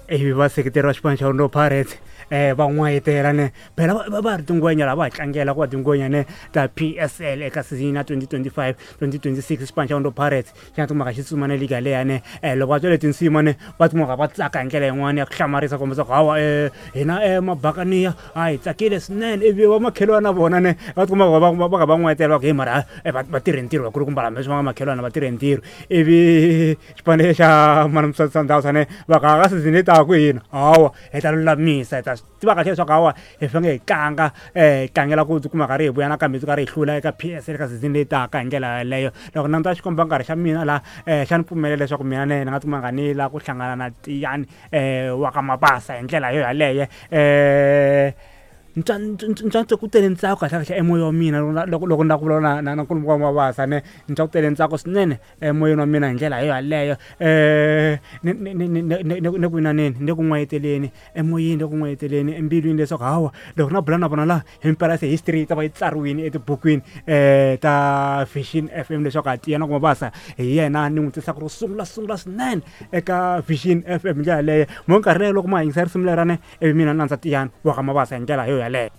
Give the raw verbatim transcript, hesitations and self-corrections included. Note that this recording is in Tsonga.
Ivi vaseketeri va xipano xa Orlando Pirates um va n'wayitela ne phela va va ri tingwenya lava ha tlangela ku va tingwenya ne ta P S L eka season ya twenty twenty-five twenty twenty-six. Xipano xa Orlando Pirates xi nga tikumaka xi tsuma ne liga leya ne. um loko va twa leti tinsimu ne, va tikumaka va tsaka hi ndlela yin'wana ya ku hlamarisa, kombisa ku hawa um hina um mabakaniya a hi tsakile swinene. Ivi va makhelwana na vona ne va tikumaka va va va va n'wayitela, va ku hey, mara va va tirhe ntirho vakulukumba hambi leswi va nga makhelwana, va tirhe ntirho. Ivi xipano xa Mamelodi Sundowns ne va ka ka season leyi taka hina hawa hi ta lulamisa, hi ta swi tiva kahle leswaku hawa hi fanele hi tlanga um tlangela ku tikuma karhi hi vuya nakambe hi karhi hi hlula eka P S L eka season leyi taka. Hi ndlela yaleyo, loko languta xikomba nkarhi xa mina laha um xa ni pfumelela leswaku mina ne ni nga tikuma nga ni la ku hlangana na Tiyani um wa ka Mabasa. Hi ndlela yo yaleyo um ni twa ku tele ntsako kahle kahle emoyeni wa mina loko loko ni lava ku vulavula na na na nkulukumba wa Mabasa ne. Ni twa ku tele ntsako swinene emoyeni wa mina. Hi ndlela yo yaleyo um ni ni ni ni ni ni ku inaneni, ni le ku n'wayiteleni emoyeni, le ku n'wayiteleni embilwini leswaku hawa loko na bula na vona laha himpela se history yi ta va yi tsariwile etibukwini um ta Vision F M leswaku a Tiyani wa Mabasa hi yena ni n'wi tisaka ro sungula sungula swinene eka Vision F M. Hi ndlela yaleyo, mo nkarhi leyo loko ma yingisa risimu lerane, ivi mina ni landza Tiyani wa ka Mabasa hi ndlela yo yaleyo.